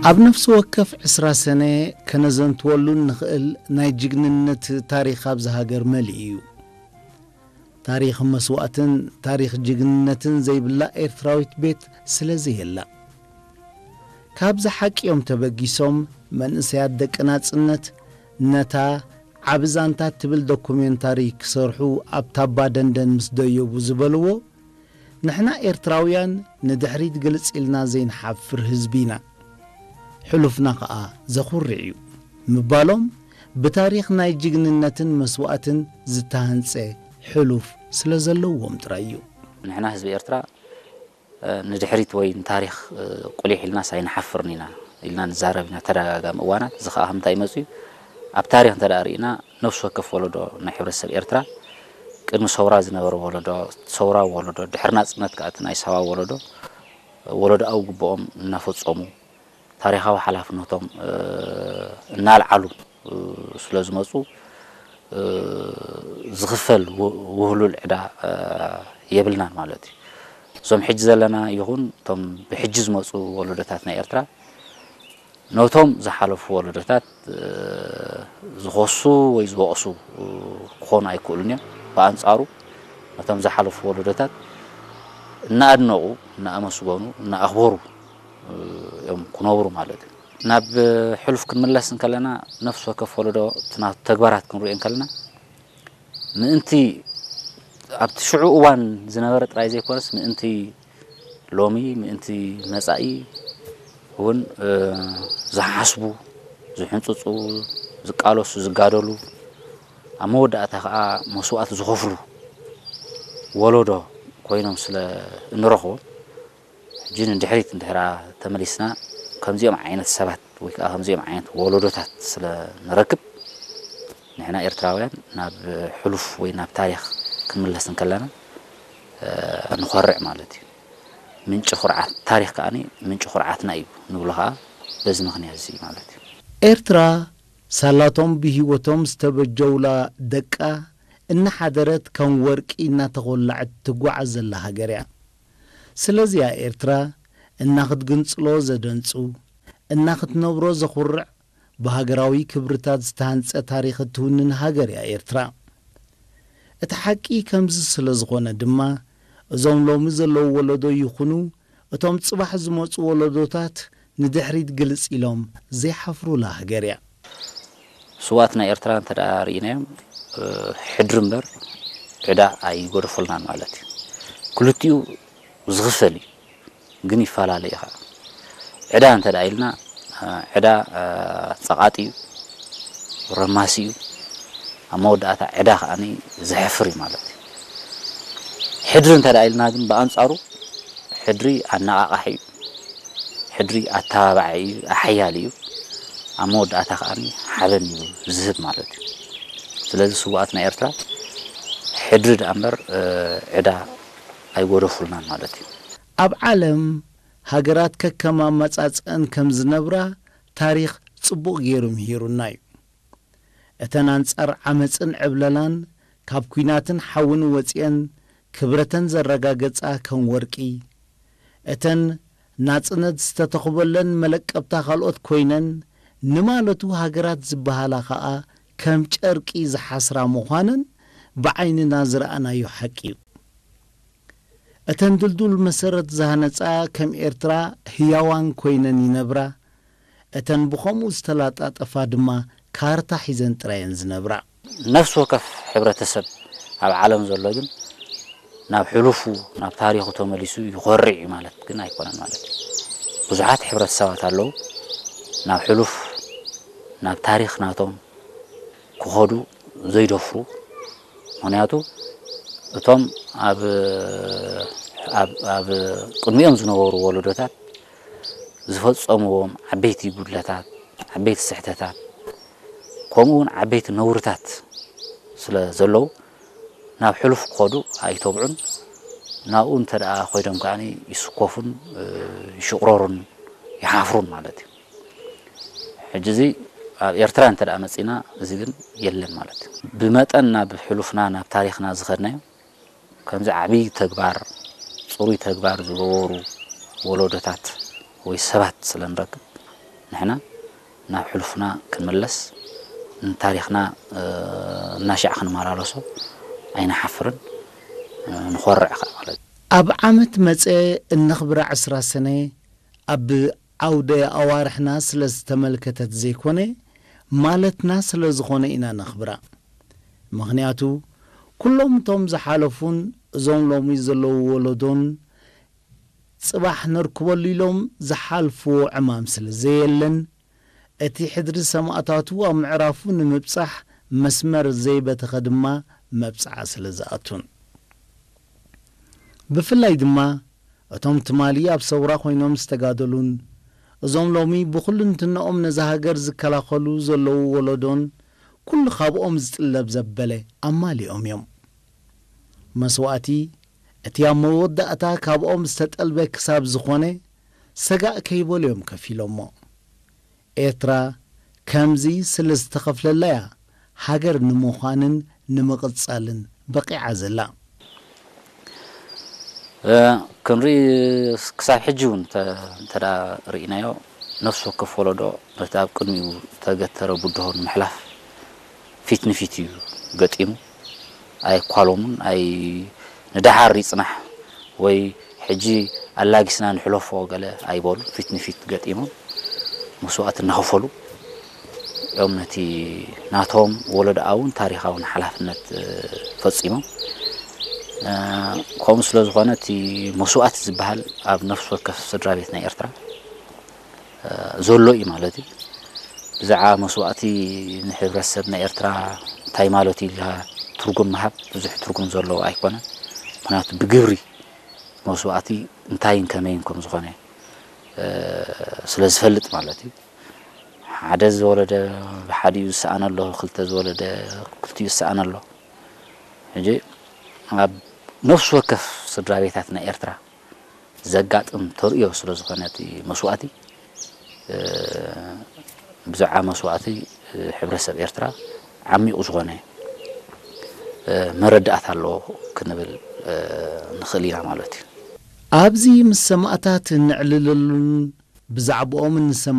ኣብ ነፍሲ ወከፍ ዕስራ ሰነ ከነዘንትወሉ እንኽእል ናይ ጅግንነት ታሪኽ ኣብዚ ሃገር መሊኡ እዩ። ታሪኽ መስዋእትን ታሪኽ ጅግንነትን ዘይብላ ኤርትራዊት ቤት ስለ ዘየላ። ካብዚ ሓቂ እዮም ተበጊሶም መንእሰያት ደቂ ናጽነት ነታ ዓቢ ዛንታ ትብል ዶኩሜንታሪ ክሰርሑ ኣብ ታባ ደንደን ምስ ደየቡ ዝበልዎ፣ ንሕና ኤርትራውያን ንድሕሪት ግልጽ ኢልና ዘይንሓፍር ህዝቢ ኢና። ሕሉፍና ከኣ ዘኹርዕ እዩ ምባሎም ብታሪኽ ናይ ጅግንነትን መስዋእትን ዝተሃንጸ ሕሉፍ ስለ ዘለዎም ጥራይ እዩ። ንሕና ህዝቢ ኤርትራ፣ እ፣ ንድሕሪት ወይ ንታሪኽ፣ እ፣ ቁሊሕ ኢልናስ ኣይንሓፍርን ኢና ኢልና ንዛረብ ኢና ተደጋጋሚ እዋናት። እዚ ከኣ ከምንታይ መጽኡ? ኣብ ታሪኽ እንተ ደኣ ርኢና፣ ነፍሲ ወከፍ ወለዶ ናይ ሕብረተሰብ ኤርትራ፣ ቅድሚ ሰውራ ዝነበረ ወለዶ፣ ሰውራዊ ወለዶ፣ ድሕሪ ናጽነት ከኣ እቲ ናይ ሳባ ወለዶ፣ ወለዶኣዊ ግብኦም እናፈጸሙ፣ ታሪኻዊ ሓላፍነቶም፣ እ፣ እናልዓሉ፣ እ፣ ስለ ዝመጹ፣ እ፣ ዝኽፈል ው-፣ ውህሉል ዕዳ፣ እ፣ የብልናን ማለት እዩ። እዞም ሕጂ ዘለና ይኹን እቶም ብሕጂ ዝመጹ ወለዶታት ናይ ኤርትራ፣ ነቶም ዝሓለፉ ወለዶታት፣ እ፣ ዝኸሱ ወይ ዝወቕሱ፣ እ፣ ክኾኑ ኣይክእሉን እዮም። ብኣንጻሩ ነቶም ዝሓለፉ ወለዶታት እናኣድነቑ፣ እናኣመስገኑ፣ እናኣኽበሩ፣ እ፣ እዮም ክነብሩ ማለት እዩ። ናብ ሕሉፍ ክንምለስ እንከለና፣ ነፍሲ ወከፍ ወለዶ እቲ ናቱ ተግባራት ክንሪኦ እንከለና፣ ምእንቲ ኣብቲ ሽዑ እዋን ዝነበረ ጥራይ ዘይኮነስ፣ ምእንቲ ሎሚ፣ ምእንቲ መጻኢ እውን፣ እ፣ ዝሓስቡ፣ ዝሕንጽጹ፣ ዝቃለሱ፣ ዝጋደሉ፣ ኣብ መወዳእታ ከኣ መስዋእቲ ዝኸፍሉ ወለዶ ኮይኖም ስለ እንረኽቦም፣ ሕጂ ንድሕሪት እንድሕራ ተመሊስና፣ ከምዚኦም ዓይነት ሰባት ወይ ከኣ ከምዚኦም ዓይነት ወለዶታት ስለ ንረክብ፣ ንሕና ኤርትራውያን ናብ ሕሉፍ ወይ ናብ ታሪኽ ክንምለስ እንከለና፣ እ፣ ንኾርዕ ማለት እዩ። ምንጪ ኩርዓት፣ ታሪኽ ከኣ ምንጪ ኩርዓትና እዩ ንብሎ ከኣ በዚ ምኽንያት እዚ ማለት እዩ። ኤርትራ ሳላቶም ብህይወቶም ዝተበጀውላ ደቃ እናሓደረት ከም ወርቂ እናተኾላዐት ትጓዓዝ ዘላ ሃገር እያ። ስለዚያ ኤርትራ እናኽትግንጽሎ ዘደንጹ፣ እናኽትነብሮ ዘኹርዕ፣ ብሃገራዊ ክብርታት ዝተሃንጸ ታሪኽ እትውንን ሃገር እያ ኤርትራ። እቲ ሓቂ ከምዚ ስለ ዝኾነ ድማ፣ እዞም ሎሚ ዘለዉ ወለዶ ይኹኑ እቶም ጽባሕ ዝመጹ ወለዶታት ንድሕሪት ግልጽ ኢሎም ዘይሓፍሩላ ሃገር እያ። ስውኣት ናይ ኤርትራ እንተ ደኣ ርኢናዮም፣ እ፣ ሕድሪ እምበር ዕዳ ኣይጎደፈሉናን ማለት እዩ። ክልቲኡ ዝኽፈል እዩ፣ ግን ይፈላለ እዩ ኸዓ። ዕዳ እንተ ደኣ ኢልና፣ እ፣ ዕዳ፣ እ፣ ጸቓጢ እዩ፣ ረማሲ እዩ። ኣብ መወዳእታ ዕዳ ከኣ ዘሕፍር እዩ ማለት እዩ። ሕድሪ እንተ ደኣ ኢልና ግን ብኣንጻሩ ሕድሪ ኣነቓቓሒ እዩ። ሕድሪ ኣተባባዒ እዩ፣ ኣሓያሊ እዩ። ኣብ መወዳእታ ከኣ ሓበን እዩ ዝህብ ማለት እዩ። ስለዚ ስውኣት ናይ ኤርትራ ሕድሪ ደኣ እምበር፣ እ፣ ዕዳ ኣይጎደፉልናን ማለት እዩ። ኣብ ዓለም ሃገራት ከከም ኣመጻጽኣን ከም ዝነብራ ታሪኽ ጽቡቕ ገይሩ ምሂሩና እዩ። እተን ኣንጻር ዓመጽን ዕብለላን ካብ ኲናትን ሓውን ወጺኤን ክብረተን ዘረጋገጻ ከም ወርቂ፣ እተን ናጽነት ዝተተኽበለን መለቀብታ ካልኦት ኮይነን፣ ንማለቱ ሃገራት ዝበሃላ ኸኣ ከም ጨርቂ ዝሓስራ ምዃነን ብዓይንና ዝረኣናዮ ሓቂ እዩ። እተን ድልዱል መሰረት ዝሃነጻ ከም ኤርትራ ህያዋን ኮይነን ይነብራ። እተን ብኸምኡ ዝተላጣጠፋ ድማ ካርታ ሒዘን ጥራየን ዝነብራ። ነፍሲ ወከፍ ሕብረተሰብ ኣብ ዓለም ዘሎ ግን ናብ ሕሉፉ፣ ናብ ታሪኹ ተመሊሱ ይኾርዕ እዩ ማለት ግን ኣይኮነን ማለት እዩ። ብዙሓት ሕብረተሰባት ኣለዉ ናብ ሕሉፍ፣ ናብ ታሪኽ ናቶም ክኸዱ ዘይደፍሩ። ምኽንያቱ እቶም ኣብ፣ ኣብ፣ ኣብ ቅድሚኦም ዝነበሩ ወለዶታት ዝፈጸምዎም ዓበይቲ ጉድለታት፣ ዓበይቲ ስሕተታት፣ ከምኡ እውን ዓበይቲ ነውርታት ስለ ዘለዉ ናብ ሕሉፍ ክኸዱ ኣይተብዑን። ናብኡ እንተ ደኣ ኮይዶም ከኣ ይስኮፉን፣ እ፣ ይሽቕረሩን ይሓፍሩን ማለት እዩ። ሕጂ እዚ ኣብ ኤርትራ እንተ ደኣ መጺና እዚ ግን የለን ማለት እዩ። ብመጠን ናብ ሕሉፍና ናብ ታሪኽና ዝኸድናዮ ከምዚ ዓብዪ ተግባር፣ ጽሩይ ተግባር ዝገበሩ ወለዶታት ወይ ሰባት ስለ ንረክብ፣ ንሕና ናብ ሕሉፍና ክንምለስ፣ ንታሪኽና እናሻዕ ክንመላለሶ ኣይንሓፍርን፣ ንኾርዕ ከኣ ማለት እዩ። ኣብ ዓመት መጸ እነኽብራ ዕስራ ሰነ ኣብ ዓውደ ኣዋርሕና ስለ ዝተመልከተት ዘይኮነ፣ ማለትና ስለ ዝኾነ ኢና ነኽብራ። ምኽንያቱ፣ ኩሎም እቶም ዝሓለፉን እዞም ሎሚ ዘለዉ ወለዶን ጽባሕ ነርክበሉ ኢሎም ዝሓልፍዎ ዕማም ስለ ዘየለን፣ እቲ ሕድሪ ሰማእታቱ ኣብ ምዕራፉ ንምብጻሕ መስመር ዘይበተኸ ድማ መብጽዓ ስለ ዝኣቱን። ብፍላይ ድማ እቶም ትማሊ ኣብ ሰውራ ኮይኖም ዝተጋደሉን እዞም ሎሚ ብኹልንትንኦም ነዛ ሃገር ዝከላኸሉ ዘለዉ ወለዶን ኩሉ ካብኦም ዝጥለብ ዘበለ ኣማሊኦም እዮም። መስዋእቲ እቲ ኣብ መወዳእታ ካብኦም ዝተጠልበ ክሳብ ዝኾነ ሰጋእ ከይበሉ እዮም ከፊሎሞ። ኤርትራ ከምዚ ስለ ዝተኸፍለላ እያ ሃገር ንምዃንን ንምቕጻልን በቒዓ ዘላ። እ፣ ክንርኢ ክሳብ ሕጂ እውን እንተ፣ እንተ ደኣ ርኢናዮ፣ ነፍሲ ወከፍ ወለዶ ነቲ ኣብ ቅድሚኡ ዝተገተረ ብድሆ ንምሕላፍ ፊት ንፊት እዩ ገጢሙ። ኣይኳሎሙን፣ ኣይ፣ ንደሓር ይጽናሕ ወይ ሕጂ ኣላጊስና ንሕለፎ ገለ ኣይበሉ። ፊት ንፊት ገጢሞም መስዋእቲ እናኸፈሉ እዮም ነቲ ናቶም ወለዶኣውን ታሪኻውን ሓላፍነት፣ እ፣ ፈጺሞም። እ፣ ከምኡ ስለ ዝኾነ እቲ መስዋእቲ ዝበሃል ኣብ ነፍሲ ወከፍ ስድራ ቤት ናይ ኤርትራ፣ እ፣ ዘሎ እዩ ማለት እዩ። ብዛዕባ መስዋእቲ ንሕብረተሰብ ናይ ኤርትራ እንታይ ማለት እዩ ኢልካ ትርጉም ምሃብ ብዙሕ ትርጉም ዘለዎ ኣይኮነን። ምኽንያቱ ብግብሪ መስዋእቲ እንታይን ከመይን ከም ዝኾነ፣ እ፣ ስለ ዝፈልጥ ማለት እዩ። ሓደ ዝወለደ ብሓዲኡ ዝሰኣን ኣሎ፣ ክልተ ዝወለደ ክልቲኡ ዝሰኣን ኣሎ። ሕጂ ኣብ ነፍሲ ወከፍ ስድራ ቤታት ናይ ኤርትራ ዘጋጥም ተርእዮ ስለ ዝኾነ እቲ መስዋእቲ፣ እ፣ ብዛዕባ መስዋእቲ፣ እ፣ ሕብረተሰብ ኤርትራ ዓሚቑ ዝኾነ፣ እ፣ መረዳእታ ኣለዎ ክንብል፣ እ፣ ንኽእል ኢና ማለት እዩ። ኣብዚ ምስ ሰማእታት እነዕልለሉን ብዛዕባኦም እንሰማ